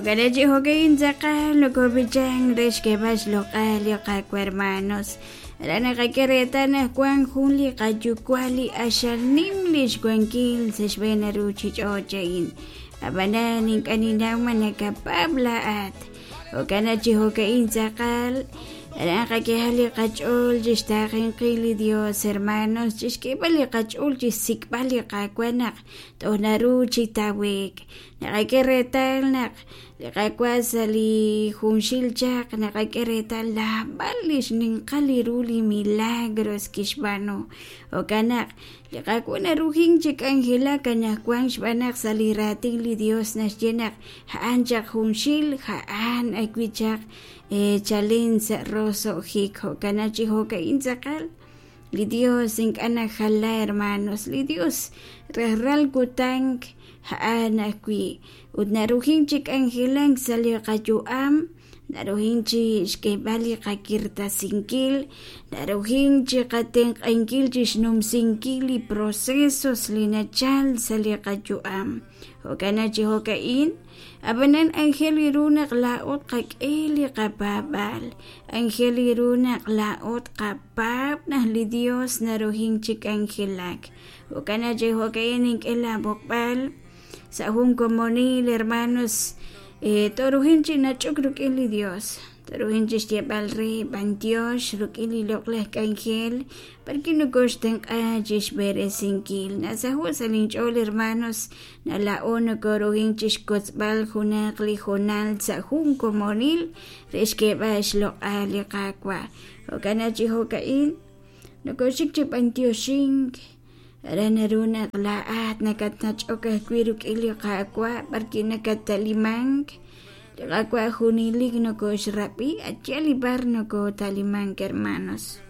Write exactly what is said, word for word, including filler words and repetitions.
Jo'kan chi jo'ka'in tz'aqal nokob'ichank re xk'eeb'al xloq'al li Qaawa' hermanos. Aran naqak'e reetal naq wank jun li qayuwa' li q'axal nim li xwankil sa' xb'een ruuchich'och' a'in. Ab'anan ink'a' ninnaw ma nakapaab' laa'at. Jo'kan chi jo'ka'in tz'aqal aran qak'ehaq li qach'ool chi xtaaqenkil li Dios hermanos, chi xk'eeb'al li qach'ool chi xsik'b'al li Qaawa' naq toj naru chi tawe'k. Naqak'e reetal naq li Qaawa' sa' li junxil chaq naqak'e reetal naab'al li xninqal ru li milagros kixb'aanu. Jo'kan naq li Qaawa' narujink chi k'anjelak anaqwan xb'aan naq sa' li raatin li Dios naxye naq a'an chaq junxil, a'an ajwi' chaq chalen sa' roso'jik. Jo'kan chi jo'ka'in tz'aqal li Dios ink'a' najala hermanos, li Dios rajlal kutan a'an ajwi' ut narujink chi k'anjelak sa' li qayu'am, narujink chi xk'eeb'al li qakirtasinkil, narujink chi qatenq'ankil chi xnumsinkil li procesos li nachal sa' li qayu'am. Jo'kan chi jo'ka'in ab'anan aajel ru naq laa'o tqak'e li qapaab'aal, aajel ru naq laa'o tqapaab' naq li Dios narujink chi k'anjelak. Jo'kan chi jo'ka'in nink'e laab'oqb'al sa' jun komonil hermanos, torujin chi nach'ok rik'in li Dios, torujin chi xyeeb'al re b'antiox rik'in li loq'laj k'anjel b'arwi' nokoxtenq'a chi xb'eresinkil. Nasaho' sa' linch'ool hermanos naq laa'o nokorujink chi xkotzb'al junaq li hoonal sa' jun komonil re xk'eeb'al xloq'al li Qaawa'. Jo'kan chi jo'ka'in nokoxik chi b'antioxink aran naru naq laa'at nakatnach'ok ajwi' rik'in li Qaawa' b'arwi' nakattalimank. Li Qaawa' junelik nokoxrab'i atyal li b'ar nokotalimank hermanos.